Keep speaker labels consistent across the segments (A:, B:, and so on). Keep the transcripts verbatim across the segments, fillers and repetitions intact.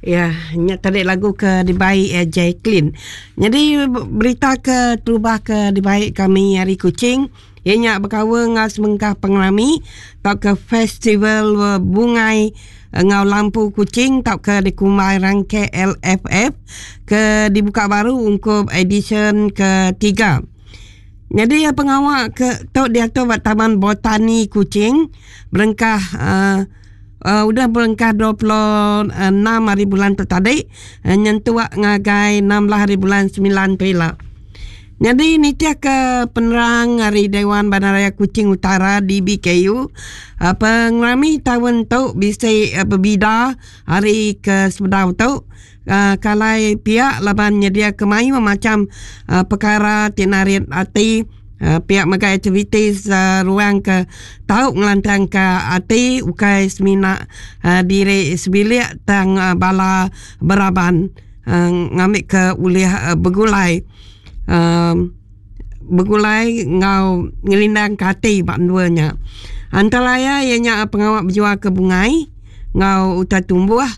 A: Ya, nya tadi lagu ke dibai eh, Jacqueline. Jadi berita ke terubah ke dibai kami ari Kuching, iya nya bekaul enggau sebengkah pengerami tauka festival eh, bungai enggau lampu Kuching tauka dikumbai rang K L F F ke dibuka baru ungkup edisyen ketiga. Jadi eh, pengawa ke tu diatur ba Taman Botani Kuching berengkah uh, uh, udah berengkah dua puluh enam hari bulan tu tadi uh, nyentuk ngagai enam belas hari bulan semilan tu ila. Jadi nitih ke penerang hari Dewan Bandaraya Kuching Utara D B K U, uh, pengerami tahun tu bisa uh, berbida hari ke sebedau tu. Uh, kalai pihak laban nyedia kemayu macam uh, perkara ti narit ati uh, pihak mega aktiviti uh, ruang ke tau ngelantang ke ati ukai semina uh, diri sebilik tang uh, bala beraban uh, ngambil ke ulih uh, begulai um, begulai ngau ngelindang ke ati bak duanya. Antara ya ianya pengawak berjual ke bungai ngau utai tumbuh,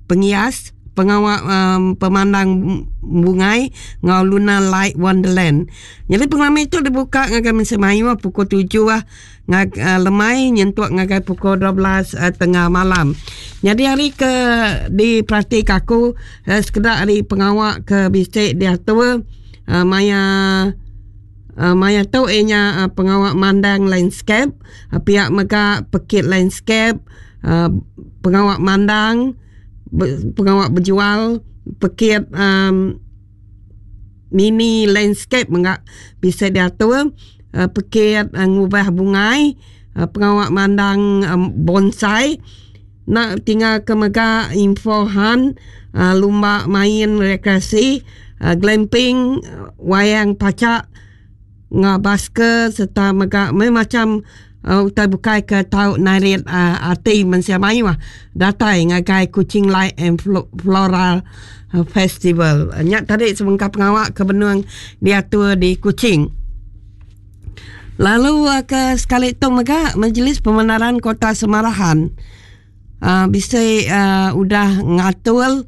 A: penghias, pengawak um, pemandang bungai ngau Lunar Light Wonderland. Jadi pengalaman itu dibuka ngagai mensia mayu pukul tujuh lah ngag, uh, lemai nyentuk ngagai pukul dua belas uh, tengah malam. Jadi hari ke diperhati aku uh, sekedar hari pengawak ke bisik diatur uh, maya Uh, maya tu ianya uh, pengawak mandang landscape, uh, pihak mega pekit landscape, uh, pengawak mandang, be, pengawak berjual, pekit um, mini landscape mega bisa diatur, uh, pekit uh, ngubah bungai, uh, pengawak mandang um, bonsai, nak tinggal ke mega info han, uh, lumba main rekreasi, uh, glamping, uh, wayang pacak, ngah basker serta mega macam uh, utai bukai ke tau narit uh, ati mensia mayu ah datai ngagai Kuching Light and Floral uh, Festival. Uh, nyak tadi sebengkah pengawak ke benung diatur di Kuching. Lalu uh, ke sekali tu mega Majlis Perbandaran Kota Samarahan uh, bisa uh, udah ngatur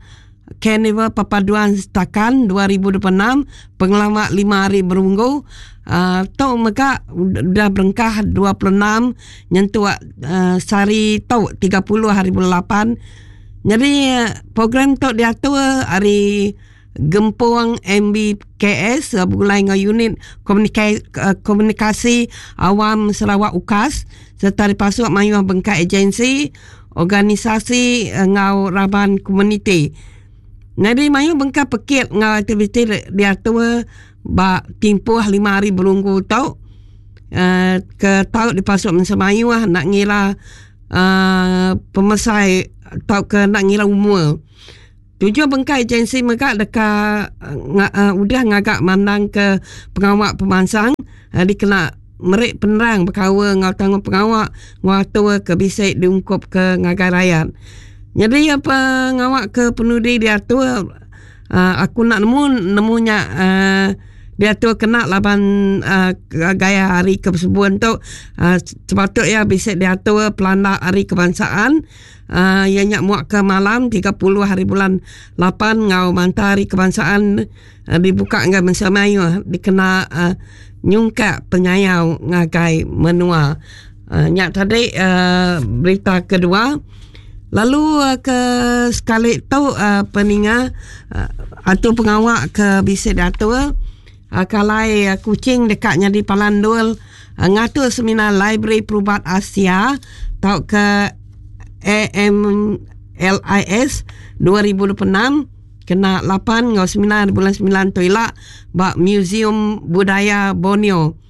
A: Karnival Perpaduan Setakan dua ribu dua puluh enam pengelama lima hari berunggu uh, tu mega udah berengkah dua puluh enam nyentuk uh, sehari tu tiga puluh hari bulan lapan. Jadi uh, program tu diatur hari Gempung M B K S uh, bergulai dengan unit komunika- uh, komunikasi awam Sarawak UKAS serta dipasuk mayuh bengkak agensi organisasi ngau raban komuniti. Jadi mayu bengkak pekit ngau aktiviti diatur ba timpuh lima hari berunggu tu uh, ke tau dipasuk mensia mayu lah, nak ngira uh, pemesai atau ke nak ngira umur. Tujuh bengkai agensi mereka dekat uh, uh, udah ngagak mandang ke pengawak pemansang uh, dikena merik penerang berkawa ngau tanggung pengawak ngatur ke bisa diungkup ke ngagai rakyat. Jadi apa ngawak ke penudi diatur uh, aku nak nemu nemunya uh, diatur kena laban uh, gaya hari kebersebuan tu uh, sepatutnya bisa diatur pelanda hari kebangsaan uh, yang nyak muak ke malam tiga puluh hari bulan lapan ngau manta hari kebangsaan uh, dibuka ngau mensia mayu dikena uh, nyungkak penyayau ngagai menua. Uh, nyak tadi uh, berita kedua. Lalu uh, ke sekali tu uh, peninga uh, atau pengawak ke bisa diatur uh, kalai uh, Kuching dekatnya di Palandul uh, ngatur seminar Library Perubat Asia tau ke A M L I S dua ribu dua puluh enam kena lapan ngau sembilan bulan sembilan tu ila ba Museum Budaya Borneo.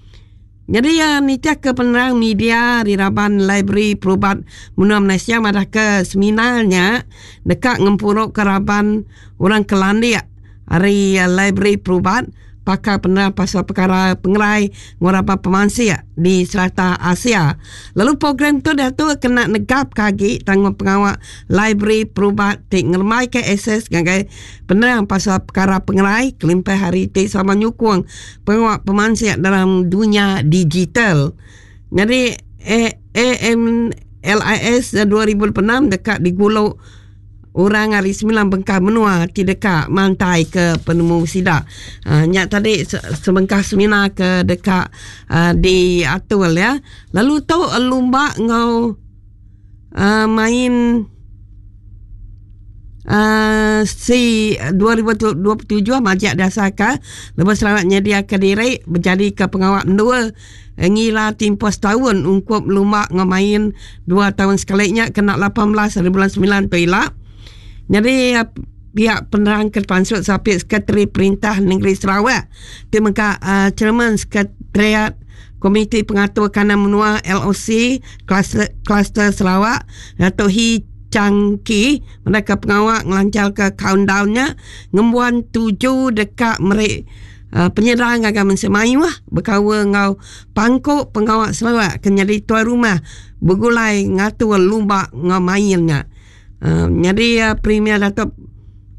A: Jadi ya nitih ke penerang media di Raban Library Perubat Menua Malaysia madah ke seminarnya dekat ngempuruk ke Raban orang Kelandia hari uh, Library Perubat pakar penerang pasal perkara pengerai ngurapa pemansia di serata Asia. Lalu program tu dah tu kena negap kagi tanggung pengawak Library Perubat ti ngeremai ke akses ngagai penerang pasal perkara pengerai kelimpah hari ti sama nyukung pengawak pemansia dalam dunia digital. Jadi A M L I S dua ribu enam dekat di Guluk orang hari sembilan bengkah menua ti deka mantai ke penemu sida. Uh, nyak tadi sebengkah seminar ke deka uh, diatur ya. Lalu tu lumba ngau uh, main Uh, si dua ribu dua puluh tujuh majak dasarkan lepas Sarawak nyedia ke diri menjadi ke pengawal dua ngila tempoh setahun ungkup lumba ngemain dua tahun sekalinya kena lapan belas hari bulan sembilan tu ila. Jadi uh, pihak penerang ke pansut sapit Sekretari Perintah Negeri Sarawak timengka uh, Chairman Sekretariat Komiti Pengatur Kanan Menua L O C Kluster, Kluster Sarawak Datuk Hee Chang Ki mereka pengawal ngelancar ke countdownnya ngembuan tujuh dekat merek uh, penyerang agak mensemayu lah berkawa ngau pangkuk pengawal Sarawak kena jadi tuan rumah bergulai ngatur lumba ngau mainnya. Uh, jadi uh, Premier Datuk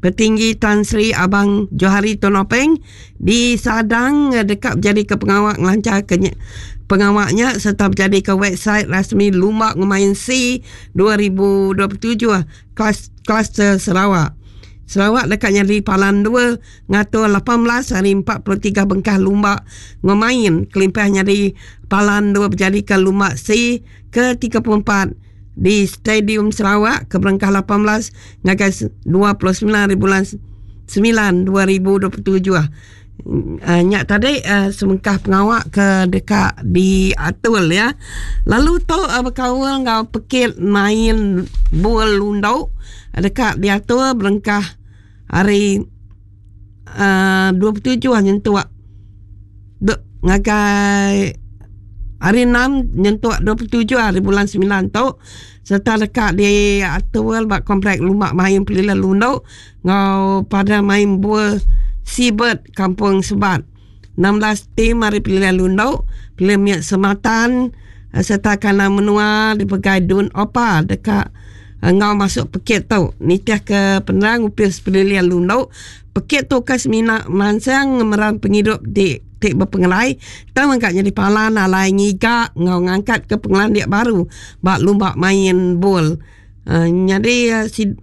A: Petinggi Tan Sri Abang Johari Tun Openg disadang uh, dekat menjadi ke pengawal ngelancar ke pengawalnya serta menjadi ke website rasmi Lumba Ngemain C dua ribu dua puluh tujuh kelas, kluster Sarawak. Sarawak dekat nyadi palan dua ngatur lapan belas hari empat puluh tiga bengkah lumba ngemain kelimpah nyadi palan dua berjadi ke lumba C ke tiga puluh empat di Stadium Sarawak ke berengkah lapan belas ngagai dua puluh sembilan hari bulan sembilan dua ribu dua puluh tujuh. Uh, nyak tadi uh, semengkah pengawak ke dekat di atul ya. Lalu tu uh, berkawal ngau pekit main bual lundau dekat di atul berengkah hari uh, dua puluh tujuh nyentuh dek ngagai hari enam nyentuh dua puluh tujuh hari bulan sembilan tu serta dekat di atul bak komplek lumak main pelila lundau ngau pada main bual Seabird Kampung Sebat. enam belas tim hari pilihan Lundau, pilihan Miak Sematan serta kanan menua dipegai Dun Opa dekat ngau masuk pekit tu. Nitih ke penerang upis pilihan Lundau, pekit tu ke semina mansang meran penghidup di tik berpengelai, tang angkat jadi palan alai ngigak ngau ngangkat ke pengelandik baru bak lumba main bol. Uh, jadi uh, si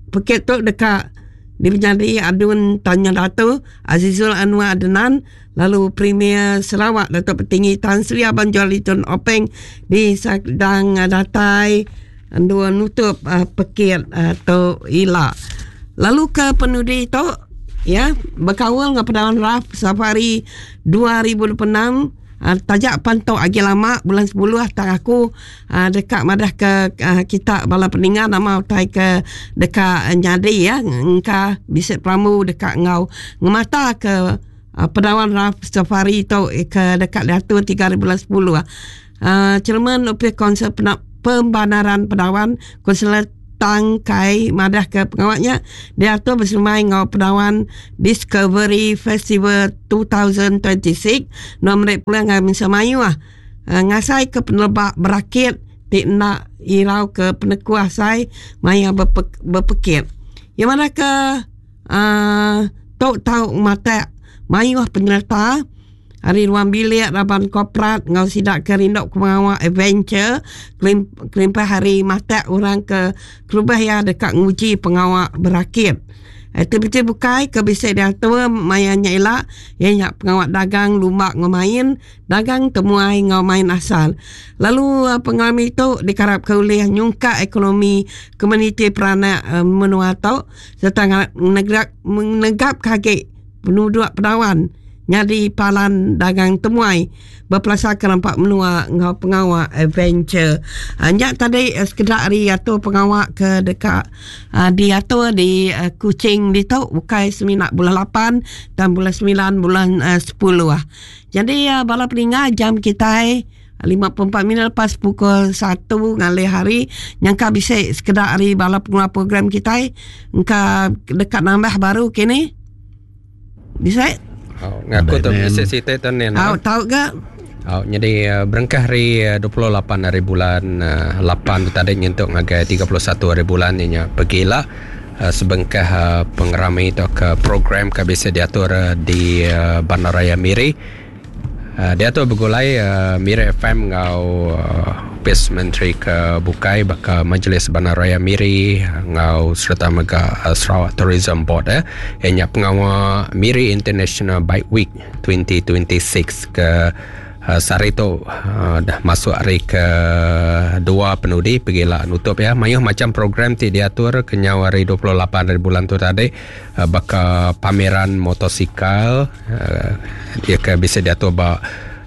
A: pekit tu dekat dipenjadi Adun Tanya Dato Azizul Anwar Adenan, lalu Premier Sarawak Datuk Petinggi Tan Sri Abang Johari Tun Openg di sedang datai dua nutup uh, pekit uh, tu ila. Lalu ke penudi tu ya berkawal dengan Padawan Raf Safari dua ribu dua puluh enam. Uh, tajak pantau agi lama bulan sepuluh tak aku uh, dekat madah ke uh, kita bala peningan nama utai ke dekat uh, nyadi ya engka bisik pramu dekat ngau ngemata ke uh, Padawan Raf Safari tu ke dekat diatur tiga bulan sepuluh. Uh, Chairman Upis Konsep Pembanaran Padawan Konselor Tangkai madah ke pengawaknya diatur bersemai ngau Padawan Discovery Festival dua ribu dua puluh enam nomor pulang ngai semayu ah ngasai ke penelbak berakit ti nak irau ke penekuah sai maya berpe, berpekit yang mana ke uh, tok tau mata mayu penyerta hari ruang bilik raban korporat ngau sidak ke rindok pengawak adventure kelim, kelimpah hari mata orang ke kelubah ya dekat nguji pengawak berakit. Aktiviti bukai ke bisa diatur mayanya elak yang nyak pengawak dagang lumbak ngemain dagang temuai ngau main asal. Lalu pengalaman itu dikarap ke oleh nyungkak ekonomi komuniti peranak menua tau serta menegak menegap kaki penduduk Padawan nyadi palan dagang temuai berpelasarkan nampak menua ngau pengawak adventure. Uh, nyak tadi uh, sekedar hari atau pengawak ke dekat uh, diatur di uh, Kuching di tu bukai seminak bulan lapan dan bulan sembilan bulan uh, sepuluh ah. Jadi uh, bala peninga jam kita lima puluh empat minit lepas pukul satu ngalih hari nyangka bisa sekedar hari bala pengelola program kita engka dekat nambah baru kini. Bisa?
B: Oh, ngaku tu bisa cerita tu ni.
A: Oh, tahu ke?
B: Oh, jadi uh, berengkah hari uh, dua puluh lapan hari bulan uh, lapan tu tadi nyentuk ngagai tiga puluh satu hari bulan ni nya pergilah uh, sebengkah uh, pengerami atau ke program ke bisa diatur uh, di uh, Bandaraya Miri. Uh, diatur bergulai uh, Miri F M ngau uh, Opis Menteri ke bukai baka Majlis Bandaraya Miri ngau serta mega uh, Sarawak Tourism Board eh. Ianya pengawa Miri International Bike Week dua ribu dua puluh enam ke uh, sehari tu uh, dah masuk hari ke dua penudi pergilah nutup ya. Mayuh macam program ti diatur kenyau hari dua puluh lapan hari bulan tu tadi uh, baka pameran motosikal uh, dia ke bisa diatur ba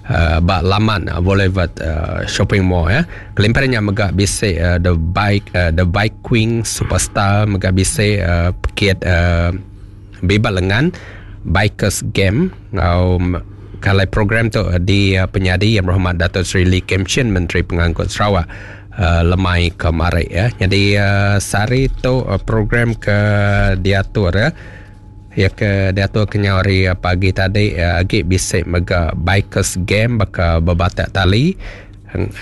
B: Uh, ba laman uh, Boulevard uh, Shopping Mall ya. Kelimpahannya mega bisa uh, the bike uh, the bike queen superstar mega bisa uh, pekit uh, bebas lengan bikers game ngau kalau program tu uh, di uh, penyadi Yang Berhormat Dato' Sri Lee Kim Shin Menteri Pengangkut Sarawak uh, lemai kemari ya. Jadi uh, sehari tu uh, program ke diatur ya. Ya ke diatur kenyau hari pagi tadi ya, agi bisa mega bikers game baka berbatak tali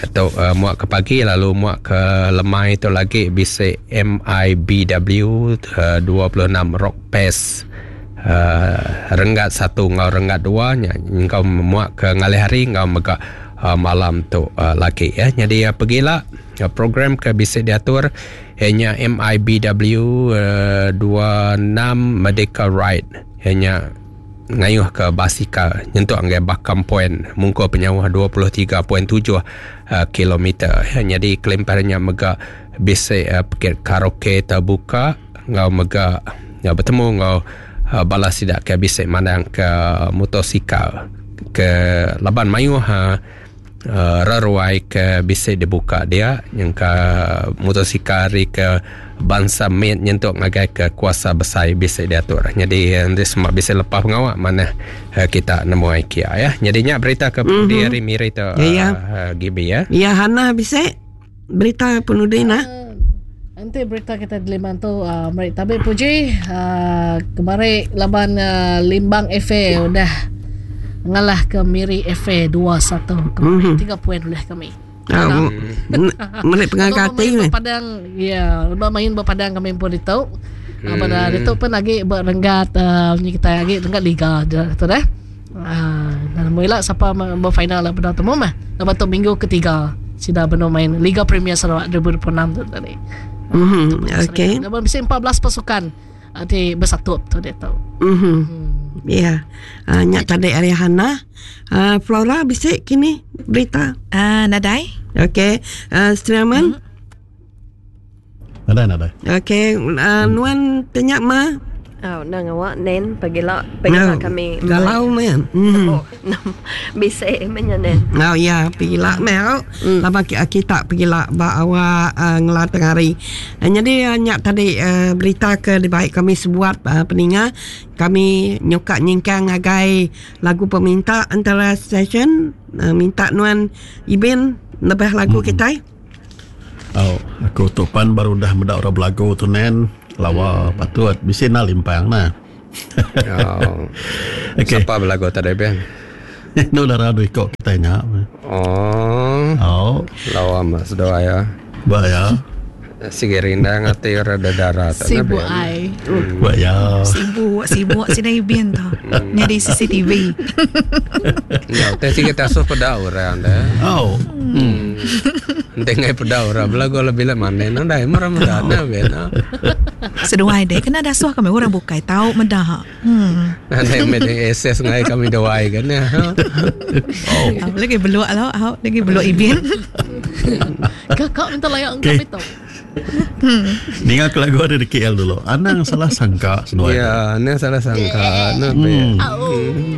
B: atau uh, muak ke pagi lalu muak ke lemai tu lagi bisa M I B W uh, dua puluh enam Rock Pass uh, renggat satu ngau renggat dua nya ngau muak ke ngalih hari ngau mega uh, malam tu uh, lagi ya. Jadi uh, pergilah uh, program ke bisa diatur hanya M I B W uh, dua puluh enam Medical Ride hanya ngayuh ke basikal nyentuk anggai Bakam Point mungko penyawah dua puluh tiga perpuluhan tujuh uh, kilometer. Jadi kelimpahannya mega bisa uh, pekit karaoke terbuka ngau mega ngau bertemu ngau uh, balas tidak ke bisa mandang ke motosikal ke laban mayuh uh, Uh, reruai ke bisa dibuka dia yang ke motosikal ke bangsa med nyentuk ngagai ke kuasa besar bisa diatur. Jadi nanti semua bisa lepas pengawak mana uh, kita nemu IKEA ya. Jadinya berita ke mm-hmm. di hari Miri tu
A: ya, ya.
B: Uh, Gibi ya.
A: Ya Hana bisa berita penudi nah.
C: Uh, nanti berita kita di Limbang tu uh, mari tabi puji uh, kemarin laban uh, Limbang F A udah ngalah ke Miri F A dua satu kemarin mm-hmm. tiga poin oleh kami.
A: Ah, melik pengangkat ni.
C: Padang ya, main berpadang kami pun itu. Hmm. Pada itu pun lagi berenggat uh, kita lagi renggat liga tu dah. Ah, dan mula siapa berfinal lah pada temu mah. Lepas tu minggu ketiga sudah benar main Liga Premier Sarawak dua ribu dua puluh enam tu tadi.
A: Mhm. Okey.
C: Lepas bisa empat belas pasukan di bersatu tu dia tahu.
A: Mhm. Hmm. Ya. Uh, nyak tadi ari Hana. Uh, Flora bisik kini berita.
D: Ah, uh, nadai.
A: Okey. Uh, Streaman.
D: Hmm.
E: Nadai nadai.
A: Okey, uh, nuan tanya ma.
F: Oh, nang awak nen pagila pagila
A: no,
F: kami.
A: Galau men. Mm.
F: Oh, bisik menya nen.
A: Oh ya, pagila mel. Mm. Lama kita pagila ba awak uh, ngelar tengah hari. Uh, jadi uh, nyak tadi uh, berita ke dibaik kami sebuat uh, peninga kami nyokak nyingkang agai lagu peminta antara session uh, minta nuan Ibin lebih lagu mm. kita.
E: Oh, aku tupan baru dah mendak orang belagu tu nen. Lawa hmm. patut bisi na limpang nah.
B: Oh.
E: Okey.
B: Siapa belagu tadi ben?
E: Nu darah dui kok kita nya.
B: Oh.
E: Oh.
B: Lawa mas doa ya.
E: Bahaya.
B: Sige rindang ati rada darah
D: sibuk ai.
E: Bahaya.
D: Sibuk sibuk sini ibin tu. Nyari C C T V.
B: Ya, teh sige tasuh pada orang dah.
E: Oh.
B: Hmm. Dengai pada orang belagu lebih lah mana nang dah marah marah na ben.
D: Seduai deh kena dasuh kami orang bukai tahu medah. Hmm.
B: Nanti me S S ngai kami doai kan ya.
E: Oh.
D: Lagi beluk lah, lagi beluk ibin.
C: Kakak minta layak kami tahu.
D: Hmm.
E: Ninga ke lagu ada di K L dulu. Anang salah sangka seduai.
B: Ya, anang salah sangka.
E: Hmm.
B: Hmm.